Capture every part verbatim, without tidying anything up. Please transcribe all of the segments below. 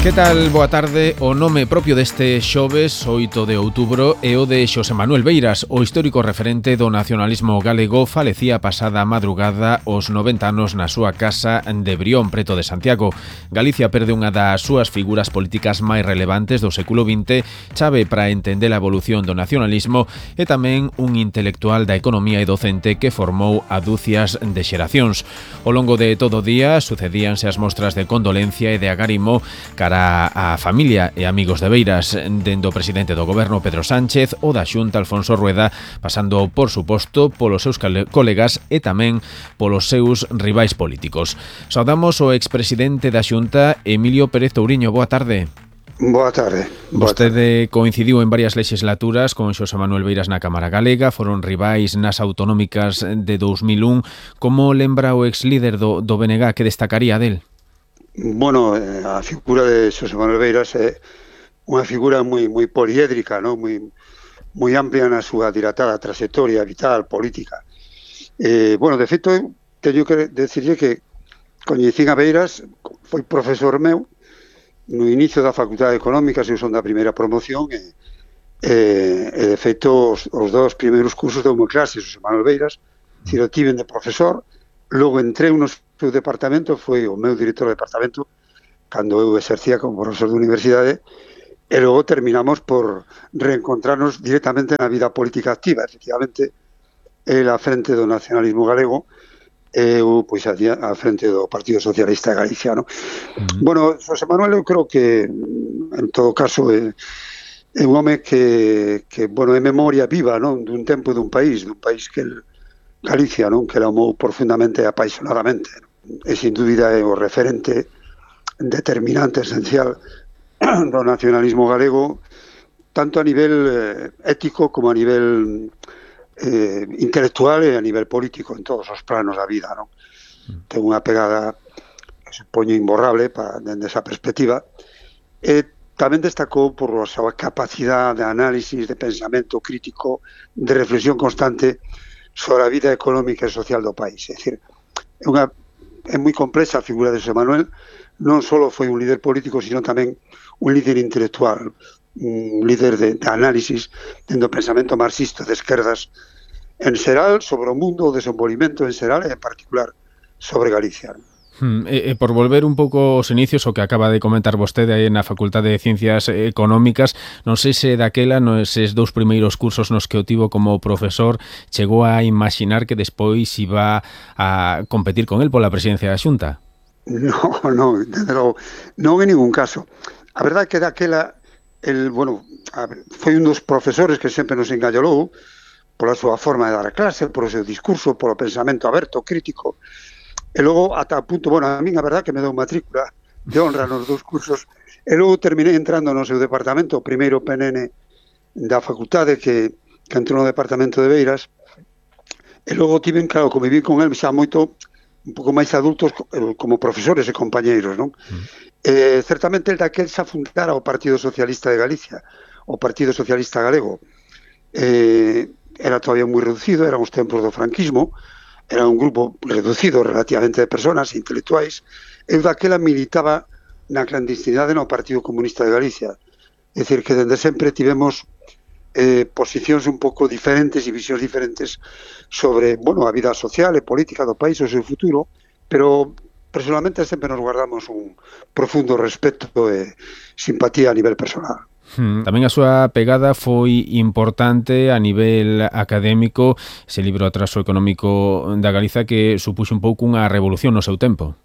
Que tal? Boa tarde. O nome propio deste xoves, oito de outubro, é o de Xosé Manuel Beiras, o histórico referente do nacionalismo galego. Falecía pasada madrugada aos noventa anos na súa casa de Brión, preto de Santiago. Galicia perde unha das súas figuras políticas máis relevantes do século vinte, chave para entender a evolución do nacionalismo, e tamén un intelectual da economía e docente que formou a dúcias de xeracións. Ao longo de todo o día sucedíanse as mostras de condolencia e de agarimo cara a familia e amigos de Beiras, dende o presidente do goberno Pedro Sánchez o da Xunta Alfonso Rueda, pasando, por suposto, polos seus colegas e tamén polos seus rivais políticos. Saudamos o expresidente da Xunta, Emilio Pérez Touriño. Boa tarde. Boa tarde. Boa Vostede tarde. Coincidiu en varias legislaturas con Xosé Manuel Beiras na Cámara Galega, foron rivais nas autonómicas de dous mil un. Como lembra o ex líder do, do B N G que destacaría del? Bueno, a figura de Xosé Manuel Beiras é unha figura moi moi poliédrica, ¿no? moi moi amplia na súa dilatada trayectoria vital, política. Eh, bueno, de feito, teño que decirlle que coñecín a Beiras, foi profesor meu no inicio da Facultade de Económicas, eu son da primeira promoción, e, e, e de feito os, os dos primeiros cursos de unha clase, Xosé Manuel Beiras, si lo tiven de profesor. Logo entré no seu departamento, foi o meu director de departamento cando eu exercía como profesor de universidade, e logo terminamos por reencontrarnos directamente na vida política activa. Efectivamente, el a frente do nacionalismo galego, eu pois a frente do Partido Socialista Galiciano. Uh-huh. Bueno, Xosé Manuel, eu creo que en todo caso é, é un home que, que bueno, é memoria viva, non, dun tempo dun país, dun país que el Galicia, non, que la amou profundamente e apaixonadamente. E sin dúbida é o referente determinante, esencial do nacionalismo galego, tanto a nivel eh, ético como a nivel eh, intelectual e a nivel político, en todos os planos da vida, non? Ten unha pegada que supoño imborrable para, dende esa perspectiva, e tamén destacou por a súa capacidade de análisis, de pensamento crítico, de reflexión constante sobre a vida económica e social do país. É dicir, é, unha, é moi complexa a figura de Xosé Manuel. Non só foi un líder político, sino tamén un líder intelectual, un líder de, de análisis dentro do pensamento marxista de esquerdas en xeral sobre o mundo, o desenvolvimento en xeral e en particular sobre Galicia. Hmm, e, e por volver un pouco aos inicios, o que acaba de comentar vostede aí na Facultade de Ciencias Económicas, non sei se daquela, neses dous primeiros cursos nos que o tivo como profesor, chegou a imaginar que despois iba a competir con el pola presidencia da Xunta? No, no, desde logo, non en ningún caso. A verdade é que daquela, el, bueno, a, foi un dos profesores que sempre nos engallolou pola súa forma de dar a clase, polo seu discurso, polo pensamento aberto, crítico. E logo, ata o punto, bueno, a min a verdade que me deu matrícula de honra nos dous cursos, e logo terminei entrando no seu departamento, o primeiro P N N da facultade que, que entrou no departamento de Beiras, e logo tiven, claro, conviví con el xa moito, un pouco máis adultos como profesores e compañeiros, non? Mm. Eh, certamente el daquel xa fundara o Partido Socialista de Galicia, o Partido Socialista Galego. Eh, era todavía moi reducido, eran os tempos do franquismo, era un grupo reducido relativamente de personas intelectuais. Eu daquela militaba na clandestinidade no Partido Comunista de Galicia. É dicir, que dende sempre tivemos eh, posicións un pouco diferentes e visións diferentes sobre, bueno, a vida social e política do país, o seu futuro, pero personalmente sempre nos guardamos un profundo respeto e simpatía a nivel personal. Tamén a súa pegada foi importante a nivel académico, ese libro Atraso económico da Galiza que supuxo un pouco unha revolución no seu tempo.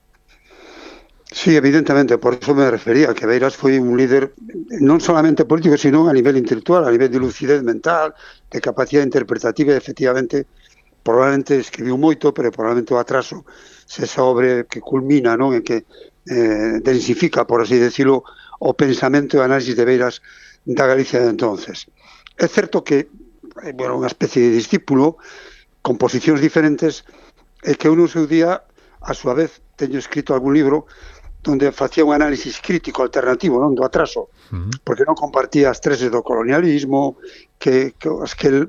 Sí, evidentemente, por eso me refería que Beiras foi un líder non solamente político, sino a nivel intelectual, a nivel de lucidez mental, de capacidade interpretativa, e efectivamente, probablemente escribiu moito, pero probablemente o Atraso se esa obra que culmina, non, en que eh, densifica, por así decirlo, o pensamento e análisis de Beiras da Galicia de entonces. É certo que, bueno, unha especie de discípulo con posicións diferentes, e que eu no seu día, a súa vez, teño escrito algún libro onde facía un análisis crítico alternativo, non, do Atraso, uh-huh. porque non compartía as teses do colonialismo, que, que as que el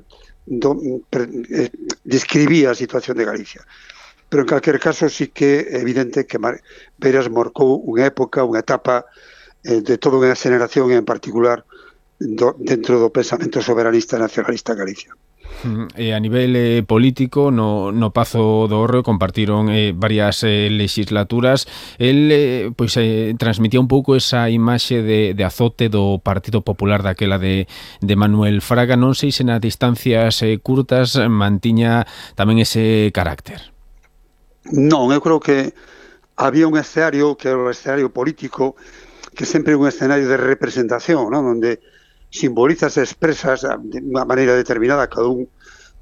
do, pre, eh, describía a situación de Galicia. Pero en calquer caso sí que é evidente que Beiras marcou unha época, unha etapa eh, de toda unha xeneración, en particular do, dentro do pensamento soberanista e nacionalista en Galicia. E a nivel eh, político, no, no Pazo do Hórreo compartiron eh, varias eh, legislaturas. El eh, pois, eh, transmitía un pouco esa imaxe de, de azote do Partido Popular daquela de, de Manuel Fraga. Non sei se nas distancias eh, curtas mantiña tamén ese carácter. Non, eu creo que había un escenario que era o escenario político, que sempre é un escenario de representación, non? Onde simbolizas e expresas de unha maneira determinada cada un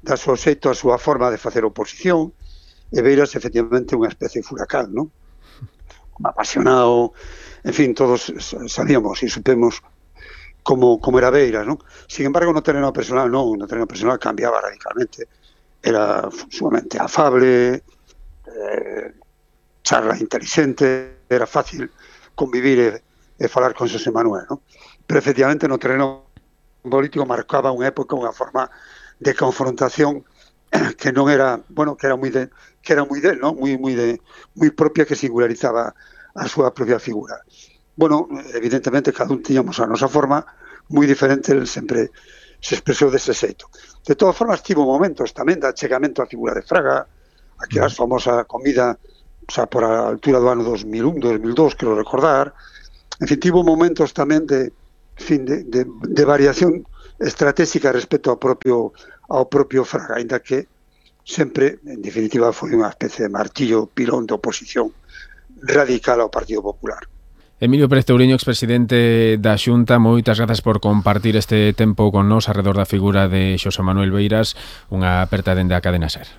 da súa xeito, a súa forma de facer oposición, e Beiras efectivamente unha especie de furacán, non? Apasionado, en fin, todos sabíamos e supemos como, como era Beiras, non? Sin embargo, no terreno personal non, no terreno personal cambiaba radicalmente, era sumamente afable, eh, charla inteligente, era fácil convivir e, e falar con Xosé Manuel, non? Pero efectivamente no terreno político marcaba unha época, unha forma de confrontación que non era, bueno, que era moi de, que era moi del, non? Moi moi de moi propia, que singularizaba a súa propia figura. Bueno, evidentemente cada un tiñamos a nosa forma moi diferente, el sempre se expresou dese xeito. De todas formas, tivo momentos tamén de achegamento á figura de Fraga, aquela famosa comida, o sea, por a altura do ano dos mil un, dos mil dos, quero recordar. En fin, tivo momentos tamén de fin de, de, de variación estratégica respecto ao propio ao propio Fraga, ainda que sempre, en definitiva, foi unha especie de martillo pilón de oposición radical ao Partido Popular. Emilio Pérez Touriño, expresidente da Xunta, moitas grazas por compartir este tempo con nós alrededor da figura de Xosé Manuel Beiras, unha aperta dende a Cadena SER.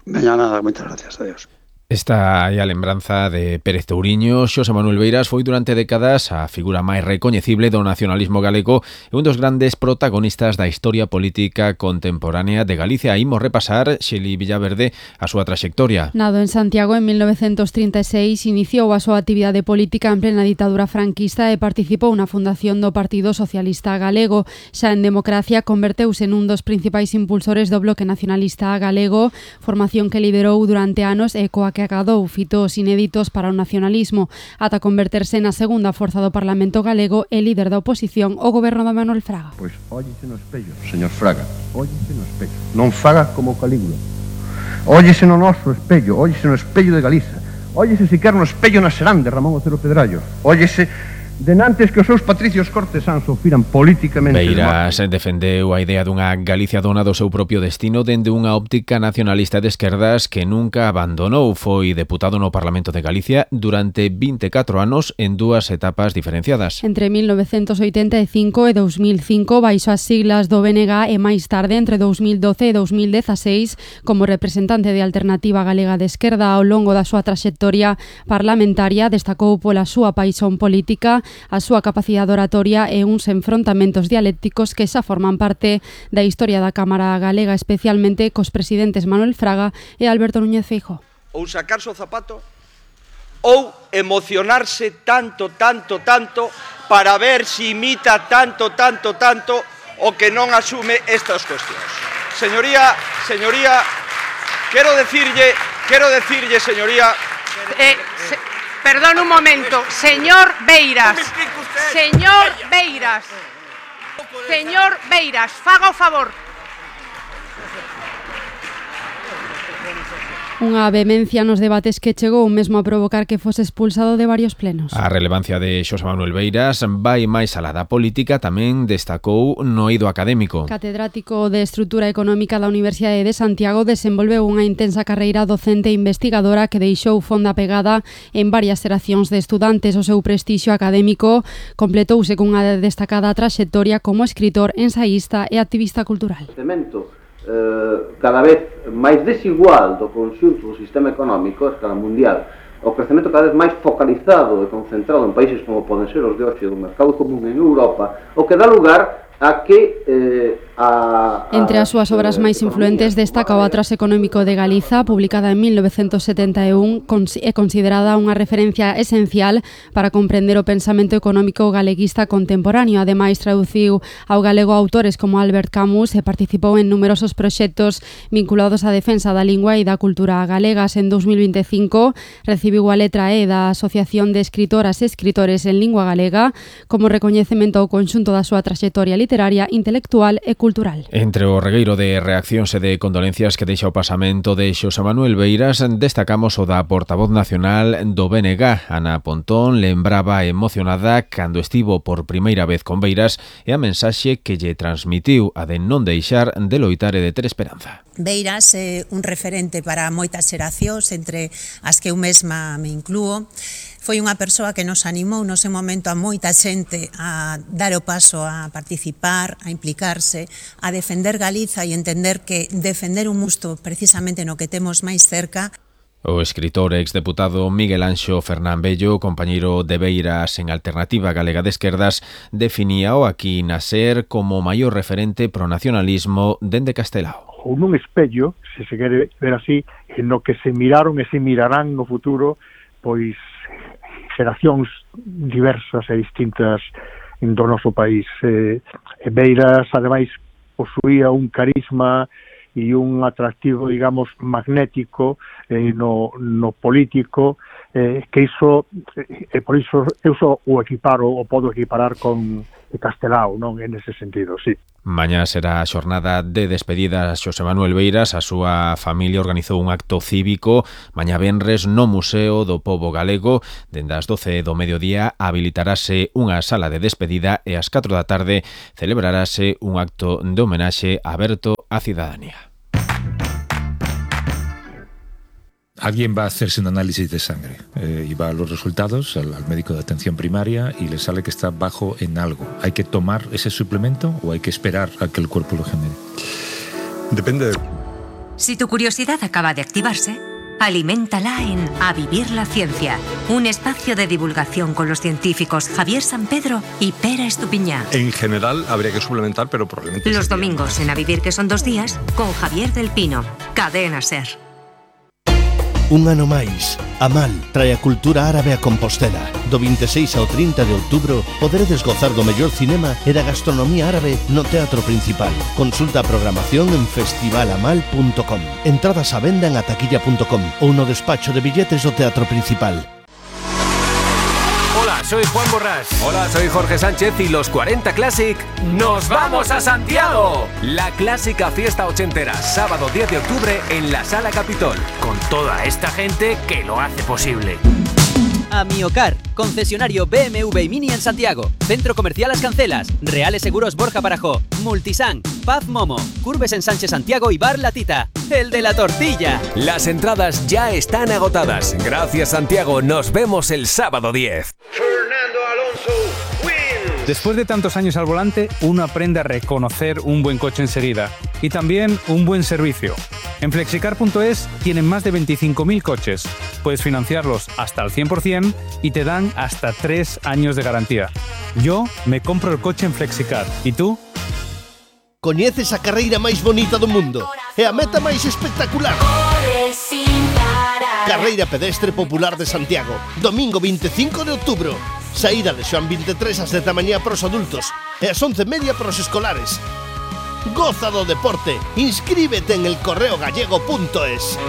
Veña nada, moitas gracias, adiós. Esta é a lembranza de Pérez Touriño. Xosé Manuel Beiras foi durante décadas a figura máis recoñecible do nacionalismo galego e un dos grandes protagonistas da historia política contemporánea de Galicia. Imos repasar, Xeli Villaverde, a súa traxectoria. Nado en Santiago en mil novecientos trinta e seis, iniciou a súa actividade política en plena ditadura franquista e participou na fundación do Partido Socialista Galego. Xa en democracia converteuse nun dos principais impulsores do Bloque Nacionalista Galego, formación que liderou durante anos e coa que que acadou fitos inéditos para o nacionalismo, ata converterse na segunda forza do Parlamento galego e líder da oposición ao goberno de Manuel Fraga. Pois óllese no espello, señor Fraga, óllese no espello. Non faga como Calígula. Óllese no noso espello, óllese no espello de Galiza. Óllese sequer no espello na Serán de Ramón Otero Pedrallo. Óllese denantes que os seus patricios cortesáns o firan políticamente. Beiras defendeu a idea dunha Galicia dona do seu propio destino dende unha óptica nacionalista de esquerdas que nunca abandonou. Foi deputado no Parlamento de Galicia durante vinte e catro anos en dúas etapas diferenciadas. Entre mil novecientos oitenta e cinco e dos mil cinco baixo as siglas do B N G e máis tarde entre dos mil doce e dos mil dezaseis como representante de Alternativa Galega de Esquerda. Ao longo da súa traxectoria parlamentaria destacou pola súa paixón política, a súa capacidade oratoria e uns enfrontamentos dialécticos que xa forman parte da historia da Cámara Galega, especialmente cos presidentes Manuel Fraga e Alberto Núñez Feijóo. Ou sacarse o zapato ou emocionarse tanto, tanto, tanto para ver se imita tanto, tanto, tanto o que non asume estas cuestións. Señoría, señoría, quero decirlle, quero decirlle, señoría... Eh, se... Perdón un momento, señor Beiras, señor Beiras, señor Beiras, faga o favor. Unha vehemencia nos debates que chegou mesmo a provocar que fose expulsado de varios plenos. A relevancia de Xosé Manuel Beiras vai máis alá da política, tamén destacou no eido académico. Catedrático de Estrutura Económica da Universidade de Santiago, desenvolveu unha intensa carreira docente e investigadora que deixou fonda pegada en varias xeracións de estudantes. O seu prestixio académico completouse cunha destacada traxectoria como escritor, ensaísta e activista cultural. Eh, cada vez máis desigual do conxunto do sistema económico a escala mundial, o crecemento cada vez máis focalizado e concentrado en países como poden ser os de hoxe do mercado común en Europa, o que dá lugar a que eh, a, a, Entre as súas obras máis influentes destaca o Atlas Económico de Galiza, publicada en mil novecentos setenta e un, é considerada unha referencia esencial para comprender o pensamento económico galeguista contemporáneo. Ademais, traduciu ao galego autores como Albert Camus e participou en numerosos proxectos vinculados á defensa da lingua e da cultura galegas. En dos mil veinticinco recibiu a letra E da Asociación de Escritoras e Escritores en Lingua Galega como recoñecemento ao conxunto da súa traxectoria literaria, intelectual e cultural. Entre o regueiro de reaccións e de condolencias que deixa o pasamento de Xosé Manuel Beiras, destacamos o da portavoz nacional do B N G. Ana Pontón lembraba emocionada cando estivo por primeira vez con Beiras e a mensaxe que lle transmitiu a de non deixar de loitar e de ter esperanza. Beiras é un referente para moitas xeracións, entre as que eu mesma me inclúo. Foi unha persoa que nos animou no seu momento a moita xente a dar o paso a participar, a implicarse, a defender Galiza e entender que defender un musto precisamente no que temos máis cerca. O escritor e exdeputado Miguel Anxo Fernán Bello, compañeiro de Beiras en Alternativa Galega de Esquerdas, definía o aquí nacer como o maior referente pro nacionalismo dende Castelao. Ou nun espello, se se quere ver así, no que se miraron e se mirarán no futuro, pois xeracións diversas e distintas do noso país. Eh, Beiras, ademais, posuía un carisma e un atractivo, digamos, magnético eh, no, no político, eh, que iso, eh, por iso, eu só o equiparo, o podo equiparar con Castelao, non? En ese sentido, sí. Mañá será a xornada de despedida a Xosé Manuel Beiras. A súa familia organizou un acto cívico mañá venres no Museo do Pobo Galego. Dende as doce do mediodía habilitarase unha sala de despedida e ás catro da tarde celebrarase un acto de homenaxe aberto á cidadanía. Alguien va a hacerse un análisis de sangre eh, y va a los resultados al, al médico de atención primaria y le sale que está bajo en algo. ¿Hay que tomar ese suplemento o hay que esperar a que el cuerpo lo genere? Depende. Si tu curiosidad acaba de activarse, aliméntala en A Vivir la Ciencia, un espacio de divulgación con los científicos Javier Sampedro y Pera Estupiñá. En general habría que suplementar, pero probablemente... Los domingos en A Vivir, que son dos días, con Javier del Pino, Cadena Ser. Un ano máis, Amal trae a cultura árabe a Compostela. Do veintiséis ao trinta de outubro poderedes gozar do mellor cinema e da gastronomía árabe no Teatro Principal. Consulta a programación en festival amal punto com. Entradas á venda en ataquilla punto com ou no despacho de billetes do Teatro Principal. Hola, soy Juan Borrás. Hola, soy Jorge Sánchez y los cuarenta Classic ¡nos vamos a Santiago! La clásica fiesta ochentera, sábado diez de octubre en la Sala Capitol, con toda esta gente que lo hace posible. Amiocar, concesionario B M W y Mini en Santiago, Centro Comercial Las Cancelas, Reales Seguros Borja Barajó, Multisan, Paz Momo, Curves en Sánchez Santiago y Bar La Tita, el de la tortilla. Las entradas ya están agotadas. Gracias, Santiago. Nos vemos el sábado diez. Fernando Alonso wins. Después de tantos años al volante, uno aprende a reconocer un buen coche enseguida y también un buen servicio. En flexicar punto es tienen más de veinticinco mil coches. Puedes financiarlos hasta al cien por ciento y te dan hasta tres años de garantía. Yo me compro el coche en Flexicar. ¿Y tú? Coñeces a carreira máis bonita do mundo e a meta máis espectacular. Carreira pedestre popular de Santiago, domingo veinticinco de outubro. Saída de Xoán veintitrés ás dez da mañá para os adultos e ás once e media para os escolares. Goza do deporte, inscríbete en el correo gallego punto es.